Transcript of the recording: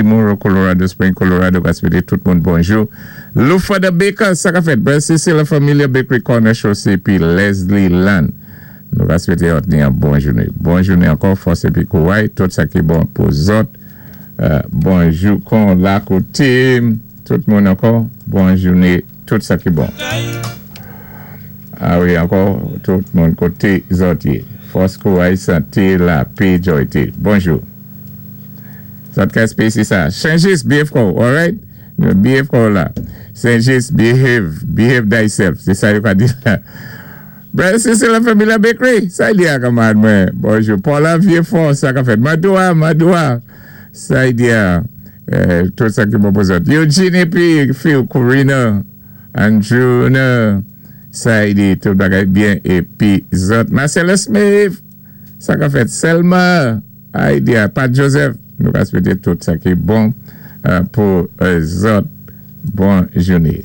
Monroe, Colorado Springs, Colorado ka swété tout moun bonjou. Lufa the Baker, sa ka fèt? Brother Cecil, La Familia Bakery Corner Chaussée pi Leslie Land. Nou ka swété zòt ni yon bon jouné. Bon jouné ankò, fòs épi kouway, tout sa ki bon pou zòt. Bonjou kon la koté tout moun ankò, bon jouné, tout sa ki bon. A wi ankò, tout moun koté zòt yé. Fòs, kouway, santé, lapé, jòyté. Bonjou. Zòt ka espesi sa. Sen-Jis, behave kò w, alright? Behave kò w la. Sen-Jis, behave, behave thyself. Sé sa yo ka di la. Brother Cecil La Familia Bakery, sa y di a kanmarad mwen? Bonjou. Paula Vieux-Fort, sa ka fèt? Madoua, Madoua, sa y di a? Tout sa ki bon pou zòt. Eugene épi fi w Corina, Andrew, sa y di? Tout bagay byen épi zòt. Marcellus Smith, sa ka fèt? Selma. Idea Pat Joseph nou ka swete tout sa ki bon pou zòt bon joune.